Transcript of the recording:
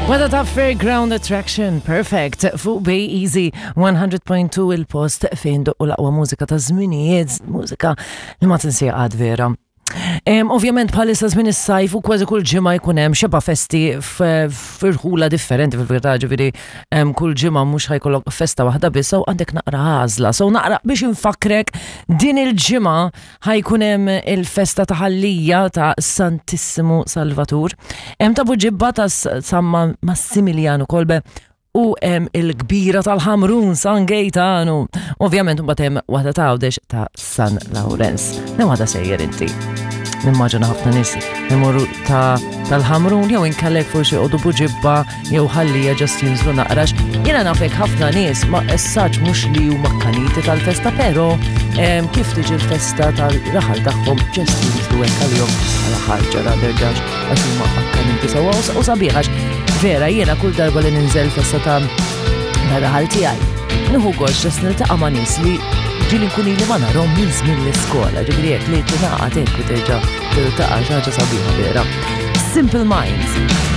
Wada ta' Fairground Attraction, perfect, fuq Bay Easy 100.2 il-post fejn doqqu l-aqwa mużika ta' żminijiet, mużika li ma tinsija għad vera. Ovvjament bħalissa żmien is-sajf u kważi kull ġimgħa jkun hemm xeba festi f'irħula differenti fil-verità ġifieri kull ġimgħa mhux ħajkollok festa waħda biss u għandek naqra għażla. So naqra biex infakrek din il-ġimgħa ħajkun hemm il-festa ta' Ħallija ta' Santissimu Salvatur. Hemm ta' Buġibba ta' San Massimiliano Kolbe u hemm il-kbira tal-Ħamrun San Gejtanu. Ovvjament mbagħad hemm waħda ta' Għawdex ta' San Lawrenz. Hemm waħda sejjer inti. Nimmaġina ħafna nies imorru ta' tal-Ħamrun jew inkellek forsi joqogħdu Buġibba jew ħallija ġast jinżlu naqrax. Jiena nafek ħafna nies ma essaġ mhux li huma kaniti tal-festa, però kif tiġi l-festa tal-raħal tagħhom ġast jinżlu hekk għalihom għal ħarġa rather ġax għax huma akkaniti sewwa u sabiħax. Vera jiena kull darba li ninżel festa ta' raħal tiegħi. Nieħu gost ġast niltaqa' ma' nies li ġieli nkun ili ma narhom minn żmien l-iskola, ġifieri hekk li tingħaqad hekk u terġa' tiltaqa' xi ħaġa sabiħa vera. Simple Minds.